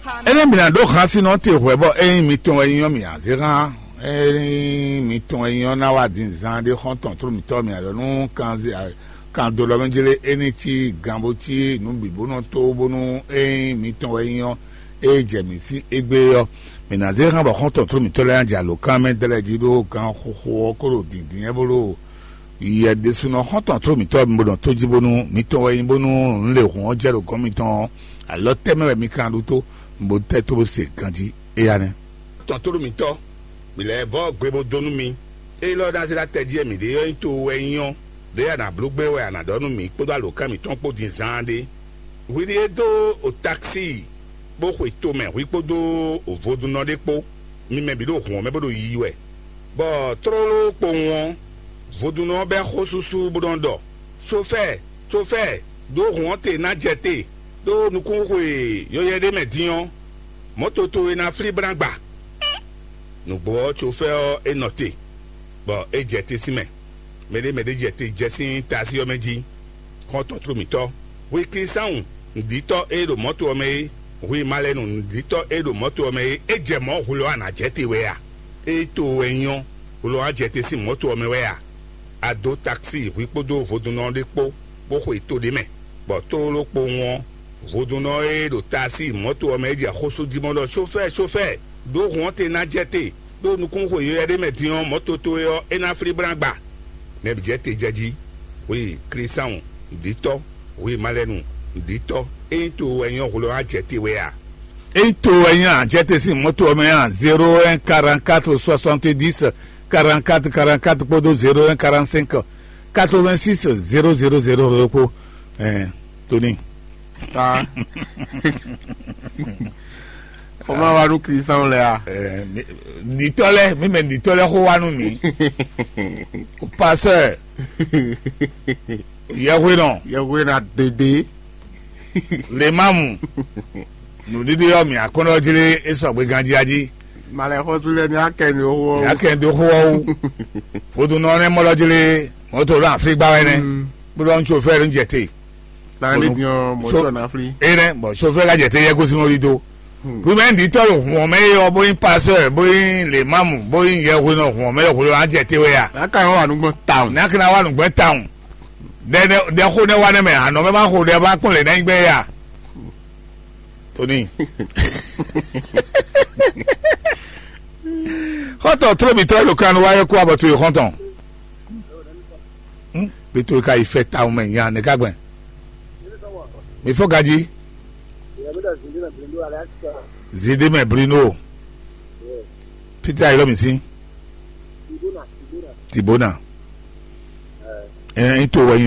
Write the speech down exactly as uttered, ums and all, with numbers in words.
Énɛ́ mǐ ná ɖó hansinɔ te hwɛ̌ bɔ ényí mitɔn wɛ nyí ɔ́, mǐ ná zé hán. Ényí mitɔn wɛ nyí ɔ́, ná wá din zan ɖé xɔ́ntɔn tló mǐtɔn mǐ ná ɖɔ nú kanzé kando lɔ mɛ jlé é ní cí gan bó cí nǔ bǐ bó nɔ tó bónú ényí mitɔn wɛ nyí ɔ́, é jɛ mǐ sín égbé ɔ́, mǐ ná zé hán bɔ xɔ́ntɔn tló mǐtɔn lɛ́ɛ ná jɛ alǒkan mɛ dlɛ́ jí ɖó gan xóxó ɔ́ kó ɖo dǐndín wɛ bó ɖo yɛ ɖésúnɔ xɔ́ntɔn tló mǐtɔn mi bó nɔ tó jí bónú mitɔn wɛ nyí bónú nǔ lě hǔn ɔ́ jɛ ɖo gɔ̌n mitɔn ɔ́, alɔ tɛ́ mɛ wɛ mi ka ɖu tó, bó tɛ́ tó bó se ganjí éyá nɛ́. Tɔn tló mǐtɔn, mǐ lɛ́ vɔ́ gbe bó dó nú mi. Ényí lɔ ná zé ɖó atɛ jí wɛ mǐ ɖe ɔ́ nyí to wɛ nyí ɔ́, ɖěe a nǎ bló gbé wɛ a nǎ ɖɔ nú mǐ kpódó alǒkan mǐtɔn kpó din zaan ɖé. Hwi ɖíe dó o taxi bó xwe tomɛ hwi kpódó vodúnnɔ ɖé kpó, mi mɛ bǐ ɖo hǔn ɔ́ mɛ bó ɖo yiyi wɛ, bɔ tlóló kpowun ɔ́, vodúnnɔ ɔ́ bɛ́ xó súsú bó nɔ́ ɖɔ: "Sofɛ́ɛ, sofɛ́ɛ, ɖǒ hǔn ɔ́ te ná jɛ te, ɖó nukúnxwe yɔyɛ ɖé mɛ din ɔ́, mɔ̌to towe ná flí bó ná gba." Nǔgbó ɔ́, sofɛ́ɛ ɔ́, é nɔ te, bɔ é jɛ te sín mɛ. Mɛɖé mɛɖé jɛ te jɛ sín taxi ɔ́ mɛ jí. Xɔ́ntɔn tló mǐtɔn, hwi Klísáwun nǔɖítɔ́ e ɖo mɔ̌to ɔ́ mɛ é, hwi malɛnu nǔɖítɔ́ e ɖo mɔ̌to ɔ́ mɛ é, é jɛ mɔ̌ hwlɔ́ a nǎ jɛ te wɛ a? Ényí to wɛ nyí ɔ́, hwlɔ́ a jɛ te sín mɔ̌to ɔ́ mɛ wɛ a? A dó taxi hwi kpódó vodúnnɔ ɖé kpó, bó xwe to ɖé mɛ, bɔ tlóló kpowun ɔ́, vodúnnɔ e ɖo taxi mɔ̌to ɔ́ mɛ é jɛ xó sú jí mɔ ɖɔ: "Sofɛ́ɛ, sofɛ́ɛ, ɖǒ hǔn ɔ́ te ná jɛ te, ɖó nukúnxwe yɔyɛ ɖé mɛ din ɔ́, mɔ̌ toto é ɔ́, é ná flí bó ná gba." Nɛbí jɛ te jɛ jí, hwi Klísáwun nǔɖítɔ́, hwi malɛnu nǔɖítɔ́, ényí to wɛ nyɔ́ hwlɔ́ á jɛ te wɛ a? Ényí to wɛ nyɔ́ á jɛ te sín mɔ̌to ɔ́ mɛ a, zéro un quarante quatre soixante dix quarante quatre quarante quatre kpódó zéro un quarante cinq quatre vingt six zéro zéro zéro kpó. Ɛɛ, Tony. Ta. Xɔmɔ wa nú Kristian lɛ a? Ɛɛ, mi- ɖitɔ lɛ mi mɛ ɖitɔ lɛ xó wa nú mi. O pasteur, yɛhwe nɔ, Yɛhwe na dede. Lemamu, nǔɖiɖi ɔ́ mi akɔnɔ jlé e sɔgbe ganjí ají. Malɛ xɔsú lɛ ni akɛ mi xó. Yà kɛ do xó ɔ́ wú. Vodunɔ nɛ mɔ lɔ jlé mɔto lɔ afligba wɛ nɛ. Bó lɔ ŋutsu fɛ ló ń jɛ te. Sani diɔ mɔtɔ na fli. E nɛ bɔn sofɛ la jɛ te yɛ gosi mɔ li do. Wimɛ ɖi tɔ lo hùn mɛ yɔ bóyin pasteur bóyin lemamu bóyin yɛhwe nɔ hùn mɛ yɔ hwlo an jɛ te wɛ ya. Aka yɔ wa nugbɔn town. N'a kana wa nugbɔn town. Dɛ dɛ xo ne wa ne mɛ anɔ mɛ ma xo dɛ ba kpɔn le n'ayi gbɛ ya. Tony. Xɔtɔ tlóbitɔ lo kan wa yɔ kó abɔ to yi xɔntɔn. Hm? Pito ka yi fɛ tawun mɛ nya ne ka gbɛn. Mi fɔ gaji. Zidi mɛ Bruno. Peter ayilɔ mi si. Tibona. Ɛ n to wɛ nyi